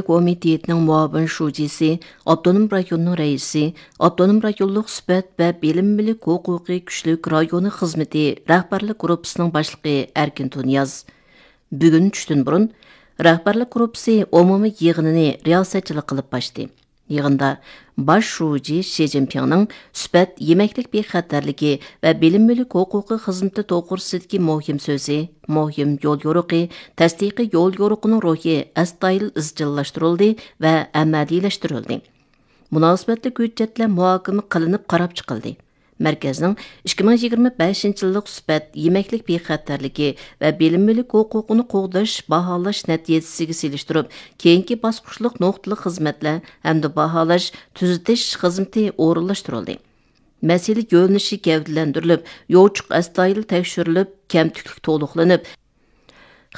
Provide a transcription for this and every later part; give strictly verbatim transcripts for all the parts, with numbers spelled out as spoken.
كومىتېتىنىڭ مۇئاۋىن شۇجىسى، ئاپتونوم رايوننىڭ رەئىسى، ئاپتونوم رايونلۇق سۈپەت ۋە بىلىم مۈلۈك ھوقۇقى كۈچلۈك رايونى خىزمىتى رەھبەرلىك گۇرۇپپىسىنىڭ باشلىقى ئەركىن تۇنىياز. بۈگۈن چۈشتىن بۇرۇن رەھبەرلىك گۇرۇپپىسى ئومۇمىي يىغىنىنى رىياسەتچىلىك قىلىپ ئاچتى. يىغىندا باش شۇجى شى جىنپىڭنىڭ سۈپەت، يېمەكلىك بىخەتەرلىكى ۋە بىلىم مۈلۈك ھوقۇقى خىزمىتى توغرىسىدىكى مۇھىم سۆزى، مۇھىم يول يورۇقى، تەستىقىي يول يورۇقىنىڭ روھى ئەستايىدىل ئىزچىللاشتۇرۇلدى ۋە ئەمەلىيلەشتۈرۈلدى. مۇناسىۋەتلىك ھۆججەتلەر مۇھاكىمە قىلىنىپ قاراپ چىقىلدى. مەركەزنىڭ ئىككى مىڭ يىگىرمە بەشىنچى يىللىق سۈپەت، يېمەكلىك بىخەتەرلىكى ۋە بىلىم مۈلۈك ھوقۇقىنى قوغداش، باھالاش نەتىجىسىگە سېلىشتۇرۇپ، كېيىنكى باسقۇچلۇق نۇقتىلىق خىزمەتلەر ھەمدە باھالاش، تۈزىتىش خىزمىتى ئورۇنلاشتۇرۇلدى. مەسىلە يۆنىلىشى گەۋدىلەندۈرۈلۈپ، يوچۇق ئەستايىدىل تەكشۈرۈلۈپ، كەمتۈكلۈك تولۇقلىنىپ،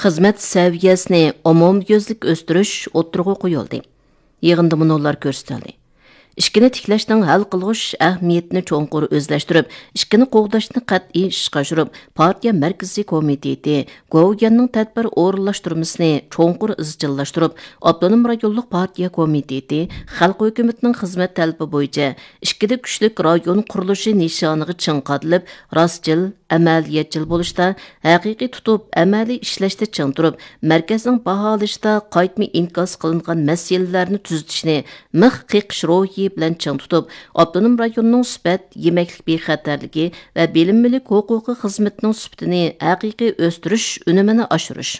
خىزمەت سەۋىيەسىنى ئومۇميۈزلۈك ئۆستۈرۈش ئوتتۇرىغا قويۇلدى. يىغىندا مۇنۇلار كۆرسىتىلدى. ئىشىكنى تىكلەشنىڭ ھەل قىلغۇچ ئەھمىيىتىنى چوڭقۇر ئۆزلەشتۈرۈپ، ئىشىكنى قوغداشنى قەتئىي ئىشقا ئاشۇرۇپ، پارتىيە مەركىزىي كومىتېتى، گوۋۇيۈەننىڭ تەدبىر ئورۇنلاشتۇرمىسىنى چوڭقۇر ئىزچىللاشتۇرۇپ، ئاپتونوم رايونلۇق پارتىيە كومىتېتى خەلق ھۆكۈمىتىنىڭ خىزمەت تەلىپى بويىچە ئىككىدە كۈچلۈك رايون قۇرۇلۇشى نىشانىغا چىڭ قادىلىپ، راستچىل، ئەمەلىيەتچىل بولۇشتا، ھەقىقىي تۇتۇپ، ئەمەلىي ئىشلەشتە چىڭ تۇرۇپ، مەركەزنىڭ باھالىشىدا قايتما ئىنكاس قىلىنغان مەسىلىلەرنى تۈزىتىشنى مىخ قېقىش روھى بىلەن چىڭ تۇتۇپ، ئاپتونوم رايوننىڭ سۈپەت، يېمەكلىك بىخەتەرلىكى ۋە بىلىم مۈلۈك ھوقۇقى خىزمىتىنىڭ سۈپىتىنى ھەقىقىي ئۆستۈرۈش ئۈنۈمىنى ئاشۇرۇش.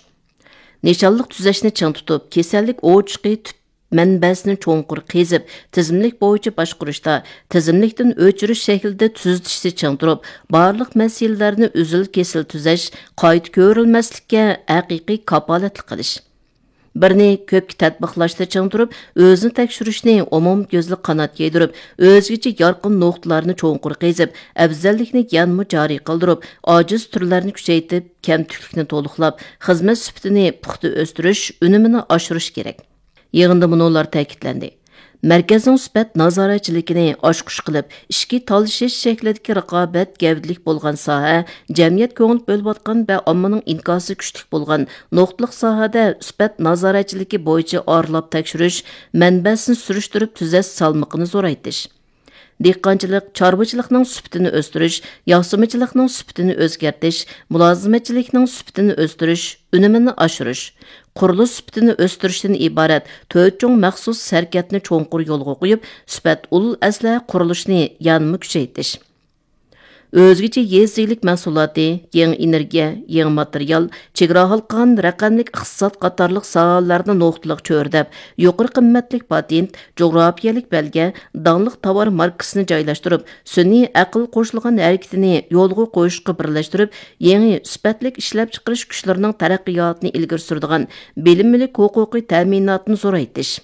نىشانلىق تۈزەشنى چىڭ تۇتۇپ، كېسەللىك ئوچىقى تۈپ مەنبەسىنى چوڭقۇر قېزىپ، تىزىملىك بويىچە باشقۇرۇشتا، تىزىملىكتىن ئۆچۈرۈش شەكلىدە تۈزىتىشنى چىڭ تۇرۇپ، بارلىق مەسىلىلەرنى ئۈزۈل-كېسىل تۈزەش، قايتا كۆرۈلمەسلىككە ھەقىقىي كاپالەتلىك قىلىش. بىرنى كۆپكە تەتبىقلاشتا چىڭ تۇرۇپ، ئۆزىنى تەكشۈرۈشنى ئومۇميۈزلۈك قانات يايدۇرۇپ، ئۆزگىچە يارقىن نۇقتىلارنى چوڭقۇر قېزىپ، ئەۋزەللىكنى يەنىمۇ جارى قىلدۇرۇپ، ئاجىز تۈرلەرنى كۈچەيتىپ، كەمتۈكلۈكنى تولۇقلاپ، خىزمەت سۈپىتىنى پۇختا ئۆستۈرۈش، ئۈنۈمىنى ئاشۇرۇش كېرەك. يىغىندا مۇنۇلار تەكىتلەندى. مەركەزنىڭ سۈپەت نازارەتچىلىكىنى ئاچقۇچ قىلىپ، ئىچكى تالىشىش شەكلىدىكى رىقابەت گەۋدىلىك بولغان ساھە، جەمئىيەت كۆڭۈل بۆلۈۋاتقان ۋە ئاممىنىڭ ئىنكاسى كۈچلۈك بولغان نۇقتىلىق ساھەدە سۈپەت نازارەتچىلىكى بويىچە ئارىلاپ تەكشۈرۈش، مەنبەسىنى سۈرۈشتۈرۈپ تۈزەش سالمىقىنى زورايتىش. دېھقانچىلىق، چارۋىچىلىقنىڭ سۈپىتىنى ئۆستۈرۈش، ياسىمىچىلىقنىڭ سۈپىتىنى ئۆزگەرتىش، مۇلازىمەتچىلىكنىڭ سۈپىتىنى ئۆستۈرۈش، ئۈنۈمىنى ئاشۇرۇش، قۇرۇلۇش سۈپىتىنى ئۆستۈرۈشتىن ئىبارەت تۆت چوڭ مەخسۇس ھەرىكەتنى چوڭقۇر يولغا قويۇپ، سۈپەت ئۇل ئەسلىھە قۇرۇلۇشىنى يەنىمۇ كۈچەيتىش. ئۆزگىچە يېزا ئىگىلىك مەھسۇلاتى، يېڭى ئېنېرگىيە، يېڭى ماتېرىيال، چېگرا ھالقىغان رەقەملىك ئىقتىساد قاتارلىق ساھەلەرنى نۇقتىلىق چۆرىدەپ، يۇقىرى قىممەتلىك پاتېنت، جۇغراپىيەلىك بەلگە، داڭلىق تاۋار ماركىسىنى جايلاشتۇرۇپ، سۈنئىي ئەقىل قوشۇلغان ھەرىكىتىنى يولغا قويۇشقا بىرلەشتۈرۈپ، يېڭى سۈپەتلىك ئىشلەپچىقىرىش كۈچلىرىنىڭ تەرەققىياتىنى ئىلگىرى سۈرىدىغان بىلىم مۈلۈك ھوقۇقى تەمىناتىنى زورايتىش.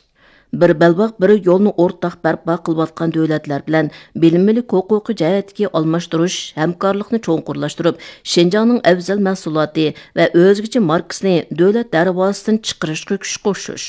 بىر بەلباغ، بىر يولنى ئورتاق بەرپا قىلىۋاتقان دۆلەتلەر بىلەن بىلىم مۈلۈك ھوقۇقى جەھەتتىكى ئالماشتۇرۇش، ھەمكارلىقنى چوڭقۇرلاشتۇرۇپ، شىنجاڭنىڭ ئەۋزەل مەھسۇلاتى ۋە ئۆزگىچە ماركىسىنى دۆلەت دەرۋازىسىدىن چىقىرىشقا كۈچ قوشۇش.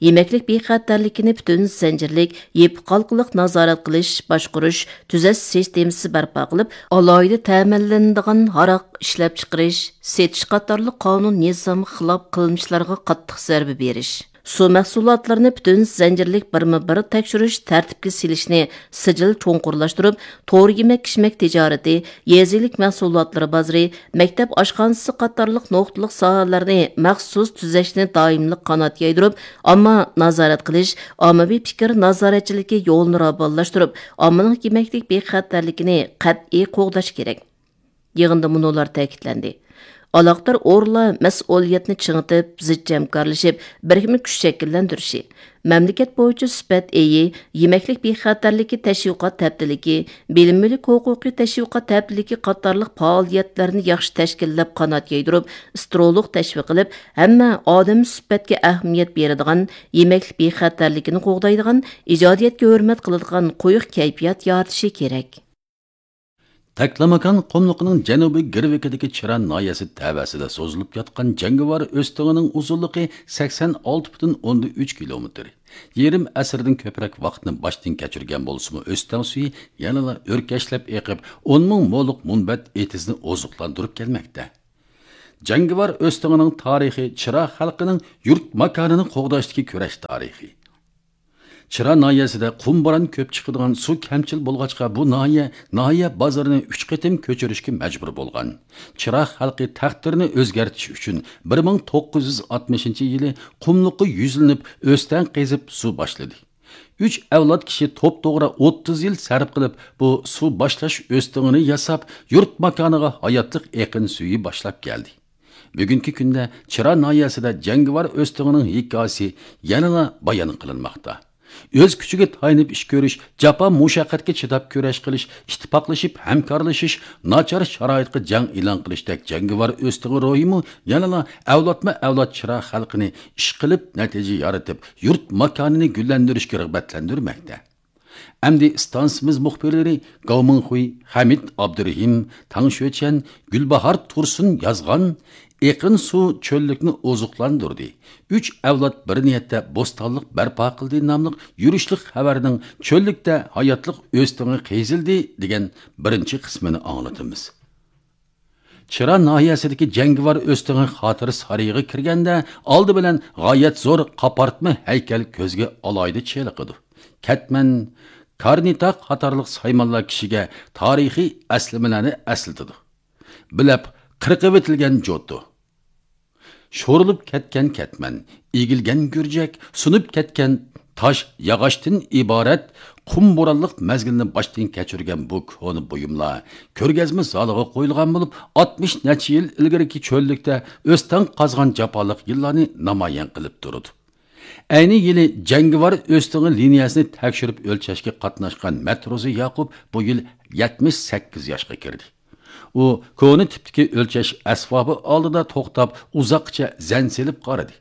يېمەكلىك بىخەتەرلىكىنى پۈتۈن زەنجىرلىك، يېپىق ھالقىلىق نازارەت قىلىش، باشقۇرۇش، تۈزەش سىستېمىسى بەرپا قىلىپ، ئالاھىدە تەمىنلىنىدىغان ھاراق ئىشلەپچىقىرىش، سېتىش قاتارلىق قانۇن نىزامغا خىلاپ قىلمىشلارغا قاتتىق زەربە بېرىش. سۇ مەھسۇلاتلىرىنى پۈتۈن زەنجىرلىك بىرمۇ بىر تەكشۈرۈش، تەرتىپكە سېلىشنى سىجىل چوڭقۇرلاشتۇرۇپ، تور يېمەك-ئىچمەك تىجارىتى، يېزا ئىگىلىك مەھسۇلاتلىرى بازىرى، مەكتەپ ئاشخانىسى قاتارلىق نۇقتىلىق ساھەلەرنى مەخسۇس تۈزەشنى دائىملىق قانات يايدۇرۇپ، ئامما نازارەت قىلىش، ئاممىۋى پىكىر نازارەتچىلىكى يولىنى راۋانلاشتۇرۇپ، ئاممىنىڭ يېمەكلىك بىخەتەرلىكىنى قەتئىي قوغداش كېرەك. يىغىندا مۇنۇلار تەكىتلەندى. ئالاقىدار ئورۇنلار مەسئۇلىيەتنى چىڭىتىپ، زىچ ھەمكارلىشىپ، بىرىكمە كۈچ شەكىللەندۈرۈشى، مەملىكەت بويىچە سۈپەت ئېيى، يېمەكلىك بىخەتەرلىكى تەشۋىقات ھەپتىلىكى، بىلىم مۈلۈك ھوقۇقى تەشۋىقات ھەپتىلىكى قاتارلىق پائالىيەتلەرنى ياخشى تەشكىللەپ، قانات يايدۇرۇپ، سترولۇق تەشۋىق قىلىپ، ھەممە ئادەم سۈپەتكە ئەھمىيەت بېرىدىغان، يېمەكلىك بىخەتەرلىكىنى قوغدايدىغان، ئىجادىيەتكە ھۆرمەت قىلىدىغان قويۇق كەيپىيات يارىتىشى كېرەك. تەكلىماكان قۇملۇقىنىڭ جەنۇبىي گىرۋىكىدىكى چىران ناھىيەسى تەۋەسىدە سوزۇلۇپ ياتقان جەڭگىۋار ئۆستىڭىنىڭ ئۇزۇنلۇقى سەكسەن ئالتە پۈتۈن ئوندىن ئۈچ كىلومېتىر. يېرىم ئەسىردىن كۆپرەك ۋاقىتنى باشتىن كەچۈرگەن بولسىمۇ، ئۆستەڭ سۈيى يەنىلا ئۆركەشلەپ ئېقىپ، ئون مىڭ مولۇق مۇنبەت ئېتىزنى ئوزۇقلاندۇرۇپ كەلمەكتە. جەڭگىۋار ئۆستىڭىنىڭ تارىخى چىرا خەلقىنىڭ يۇرت ماكانىنى قوغداشتىكى كۈرەش تارىخى. چىرا ناھىيەسىدە قۇم بوران كۆپ چىقىدىغان سۇ كەمچىل بولغاچقا، بۇ ناھىيە ناھىيە بازىرىنى ئۈچ قېتىم كۆچۈرۈشكە مەجبۇر بولغان. چىرا خەلقى تەقدىرىنى ئۆزگەرتىش ئۈچۈن بىر مىڭ توققۇز يۈز ئاتمىشىنچى يىلى قۇملۇققا يۈزلىنىپ، ئۆستەڭ قېزىپ سۇ باشلىدى. ئۈچ ئەۋلاد كىشى توپتوغرا ئوتتۇز يىل سەرپ قىلىپ، بۇ سۇ باشلاش ئۆستىڭىنى ياساپ، يۇرت ماكانىغا ھاياتلىق ئېقىن سۈيى باشلاپ كەلدى. بۈگۈنكى كۈندە چىرا ناھىيەسىدە جەڭگىۋار ئۆستىڭىنىڭ ھېكايىسى يەنىلا بايان قىلىنماقتا. ئۆز كۈچىگە تايىنىپ ئىش كۆرۈش، جاپا مۇشەققەتكە چىداپ كۈرەش قىلىش، ئىتتىپاقلىشىپ ھەمكارلىشىش، ناچار شارائىتقا جەڭ ئېلان قىلىشتەك جەڭگىۋار ئۆستىڭى روھىمۇ يەنىلا ئەۋلادمۇ ئەۋلاد چىرا خەلقىنى ئىشقىلىپ نەتىجە يارىتىپ، يۇرت ماكانىنى گۈللەندۈرۈشكە رىغبەتلەندۈرمەكتە. ئەمدى ئىستانسىمىز مۇخبىرلىرى گاۋ مىڭخۇي، خەمىت ئابدۇرېھىم، تاڭ شۆچەن، گۈلباھار تۇرسۇن يازغان «ئېقىن سۇ چۆللۈكنى ئوزۇقلاندۇردى، ئۈچ ئەۋلاد بىر نىيەتتە بوستانلىق بەرپا قىلدى» ناملىق يۈرۈشلۈك خەۋەرنىڭ «چۆللۈكتە ھاياتلىق ئۆستىڭى قېزىلدى» دېگەن بىرىنچى قىسمىنى ئاڭلىتىمىز. چىرا ناھىيەسىدىكى جەڭگىۋار ئۆستىڭى خاتىرە سارىيىغا كىرگەندە، ئالدى بىلەن غايەت زور قاپارتما ھەيكەل كۆزگە ئالاھىدە چېلىقىدۇ. كەتمەن، كارنىتا قاتارلىق سايمانلار كىشىگە تارىخىي ئەسلىمىلەرنى ئەسلىتىدۇ. بىلەپ قىرقىۋېتىلگەن جوتۇ، شورىلىپ كەتكەن كەتمەن، ئېگىلگەن گۈرجەك، سۇنۇپ كەتكەن تاش ياغاچتىن ئىبارەت قۇم بورانلىق مەزگىلنى باشتىن كەچۈرگەن بۇ كونا بۇيۇملار كۆرگەزمە زالىغا قويۇلغان بولۇپ، ئاتمىش نەچچە يىل ئىلگىرىكى چۆللۈكتە ئۆستەڭ قازغان جاپالىق يىللارنى نامايان قىلىپ تۇرىدۇ. ئەينى يىلى جەڭگىۋار ئۆستىڭى لىنىيەسىنى تەكشۈرۈپ ئۆلچەشكە قاتناشقان مەتروزى ياقۇپ بۇ يىل يەتمىش سەككىز ياشقا كىردى. ئۇ كونا تىپتىكى ئۆلچەش ئەسۋابى ئالدىدا توختاپ، ئۇزاققىچە زەن سېلىپ قارىدى.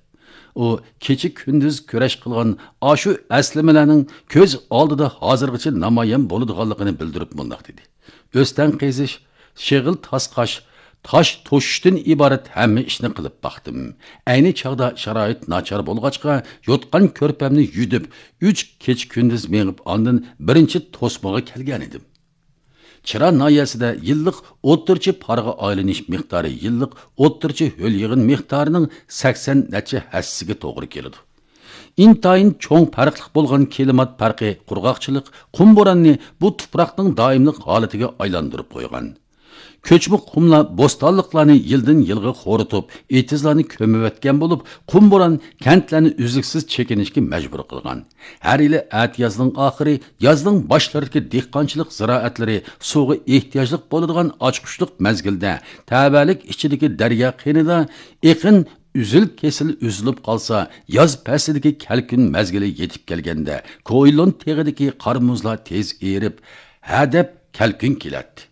ئۇ كېچە-كۈندۈز كۈرەش قىلغان ئاشۇ ئەسلىمىلەرنىڭ كۆز ئالدىدا ھازىرغىچە نامايان بولىدىغانلىقىنى بىلدۈرۈپ مۇنداق دېدى: «ئۆستەڭ قېزىش، شېغىل تاسقاش، تاش توشۇشتىن ئىبارەت ھەممە ئىشنى قىلىپ باقتىم. ئەينى چاغدا شارائىت ناچار بولغاچقا، يوتقان كۆرپەمنى يۈدۈپ، ئۈچ كېچە-كۈندۈز مېڭىپ، ئاندىن بىرىنچى توسمىغا كەلگەنىدىم.» چىرا ناھىيەسىدە يىللىق ئوتتۇرىچە پارغا ئايلىنىش مىقدارى يىللىق ئوتتۇرىچە ھۆل يىغىن مىقدارىنىڭ سەكسەن نەچچە ھەسسىسىگە توغرا كېلىدۇ. ئىنتايىن چوڭ پەرقلىق بولغان كىلىمات پەرقى، قۇرغاقچىلىق، قۇم بوراننى بۇ تۇپراقنىڭ دائىملىق ھالىتىگە ئايلاندۇرۇپ قويغان. كۆچمە قۇملار بوستانلىقلارنى يىلدىن يىلغا خورىتىپ، ئېتىزلارنى كۆمۈۋەتكەن بولۇپ، قۇم بوران كەنتلەرنى ئۈزلۈكسىز چېكىنىشكە مەجبۇر قىلغان. ھەر يىلى ئەتىيازنىڭ ئاخىرى، يازنىڭ باشلىرىدىكى دېھقانچىلىق زىرائەتلىرى سۇغا ئېھتىياجلىق بولىدىغان ئاچقۇچلۇق مەزگىلدە، تەۋەلىك ئىچىدىكى دەريا قىنىدا ئېقىن ئۈزۈل-كېسىل ئۈزۈلۈپ قالسا، ياز پەسلىدىكى كەلكۈن مەزگىلى يېتىپ كەلگەندە، كوئىلون تېغىدىكى قار-مۇزلار تېز ئېرىپ، ھەدەپ كەلكۈن كېلەتتى.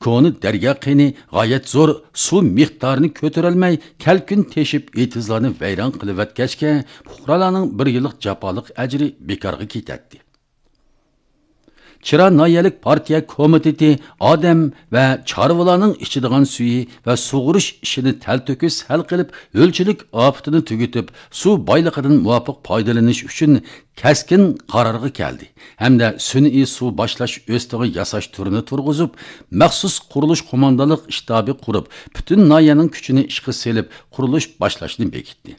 كونا دەريا قىنى غايەت زور سۇ مىقدارىنى كۆتۈرەلمەي، كەلكۈن تېشىپ، ئېتىزلارنى ۋەيران قىلىۋەتكەچكە، پۇقرالارنىڭ بىر يىللىق جاپالىق ئەجرى بىكارغا كېتەتتى. چىرا ناھىيەلىك پارتىيە كومىتېتى ئادەم ۋە چارۋىلارنىڭ ئىچىدىغان سۈيى ۋە سۇغۇرۇش ئىشىنى تەلتۆكۈس ھەل قىلىپ، ھۆلچىلىك ئاپىتىنى تۈگىتىپ، سۇ بايلىقىدىن مۇۋاپىق پايدىلىنىش ئۈچۈن كەسكىن قارارغا كەلدى ھەمدە سۈنئىي سۇ باشلاش ئۆستىڭى ياساش تۈرىنى تۇرغۇزۇپ، مەخسۇس قۇرۇلۇش قوماندانلىق شتابى قۇرۇپ، پۈتۈن ناھىيەنىڭ كۈچىنى ئىشقا سېلىپ، قۇرۇلۇش باشلاشنى بېكىتتى.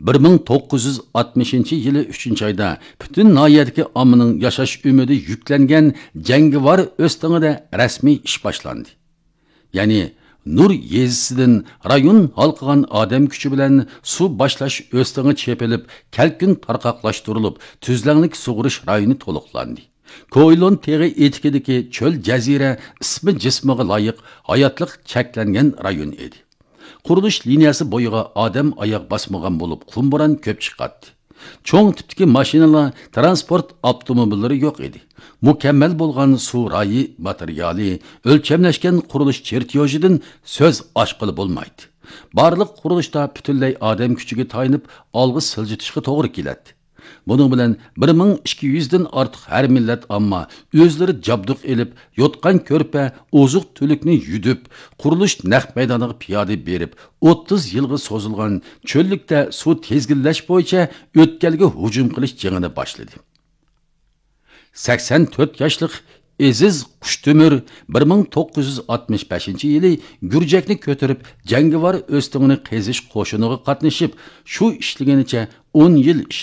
بىر مىڭ توققۇز يۈز ئاتمىشىنچى يىلى ئۈچىنچى ئايدا پۈتۈن ناھىيەدىكى ئاممىنىڭ ياشاش ئۈمىدى يۈكلەنگەن جەڭگىۋار ئۆستىڭىدە رەسمىي ئىش باشلاندى. يەنى نۇر يېزىسىدىن رايون ھالقىغان ئادەم كۈچى بىلەن سۇ باشلاش ئۆستىڭى چېپىلىپ، كەلكۈن تارقاقلاشتۇرۇلۇپ، تۈزلەڭلىك سۇغۇرۇش رايونى تولۇقلاندى. كوئىلون تېغى ئېتىكىدىكى چۆل جەزىرە ئىسمى جىسمىغا لايىق ھاياتلىق چەكلەنگەن رايون ئىدى. قۇرۇلۇش لىنىيەسى بويىغا ئادەم ئاياغ باسمىغان بولۇپ، قۇم بوران كۆپ چىقاتتى. چوڭ تىپتىكى ماشىنىلار، تىرانسپورت ئاپتوموبىللىرى يوق ئىدى. مۇكەممەل بولغان سۇ رايى ماتېرىيالى، ئۆلچەملەشكەن قۇرۇلۇش چېرتيوژىدىن سۆز ئاچقىلى بولمايتتى. بارلىق قۇرۇلۇشتا پۈتۈنلەي ئادەم كۈچىگە تايىنىپ ئالغا سىلجىتىشقا توغرا كېلەتتى. بۇنىڭ بىلەن بىر مىڭ ئىككى يۈزدىن ئارتۇق ھەر مىللەت ئامما ئۆزلىرى جابدۇق ئېلىپ، يوتقان-كۆرپە، ئوزۇق-تۈلۈكنى يۈدۈپ، قۇرۇلۇش نەق مەيدانىغا پىيادە بېرىپ، ئوتتۇز يىلغا سوزۇلغان چۆللۈكتە سۇ تىزگىنلەش بويىچە ئۆتكەلگە ھۇجۇم قىلىش جېڭىنى باشلىدى. سەكسەن تۆت ياشلىق ئېزىز قۇشتۆمۈر بىر مىڭ توققۇز يۈز ئاتمىش بەشىنچى يىلى گۈرجەكنى كۆتۈرۈپ، جەڭگىۋار ئۆستىڭىنى قېزىش قوشۇنىغا قاتنىشىپ، شۇ ئىشلىگىنىچە ئون يىل ئىشلىدى.